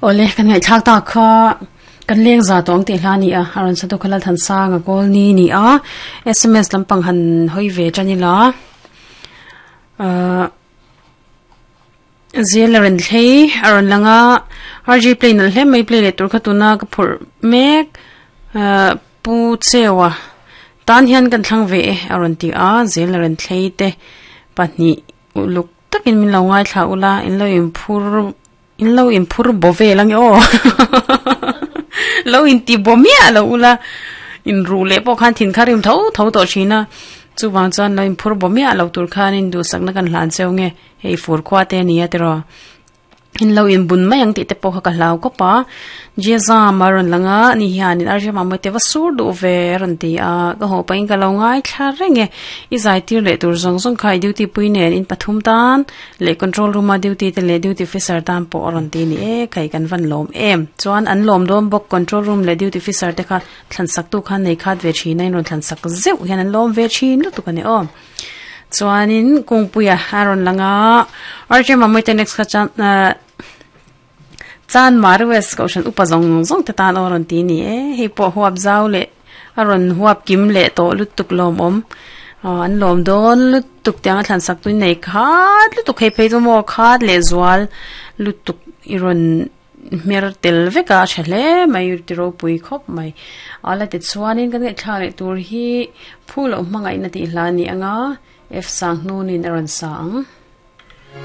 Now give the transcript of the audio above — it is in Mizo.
Awle, kan ngaihthlak tak kha kan leng za tawh ang tih hla a ni a, a rawn sa tu kha Lalthansanga Kawlni a ni a, sms lampang han hawi ve tan ila ahh zel a rawn thlei a rawn lang a, RG play nalh hle mai play leh tur kha tuna ka phurh mek ahh Pu Cheua tan hian kan thlang ve e a rawn ti a, zel a rawn thlei te pahnih uluk takin min lo ngaithla ula in lo inphur In lo inphur bo vel ange aw Lo inti bo miah lo ula in ruh leh pawh khan thin kha rim tho tho tawh thin a chuvang chuan lo inphur bo miah lo tur khan in duhsakna kan hlan cheu nge hei fur khua te a ni a tiraw in lo inbun mai ang tih te pawh kha ka hlau khawp a. Jezam a rawn lang a, ni hianin Arjun Mamawii te va sur duh ve a rawn ti a, ka haw pahin ka lo ngaithla reng e, i zai tir leh tur zawng zawng kha i duty pui nen in pathum tan leh control room a duty te leh duty officer tan pawh a rawn ti a ni e, khai kan van lawm em. Chuan an lawm dawn bawk control room leh duty officer te kha thlan sak tu khan nei khat ve thin a, in rawn thlan sak zeuh hian an lawm ve thin lutuk a ni aw. Chuanin kungpuia a rawn lang a, Arjun Mamawii te next kha chuan ahh. Chan Marwes kohhran upa zawng zawng te tan aw a rawn ti a ni e, hei pawh huap zau leh a rawn huap kim leh tawh lutuk lawmawm aw an lawm dawn lutuk tiang a thlan sak tui nei khat lutuk hei phei chu maw khat leh zual lutuk i rawn hmer tel vek a a tha hle mai ti ropui khawp mai a la ti chuanin kan ngaihthlak leh tur hi phu loh hmangaihna tih hla a ni ang a F Sanghnun in a rawn sa ang.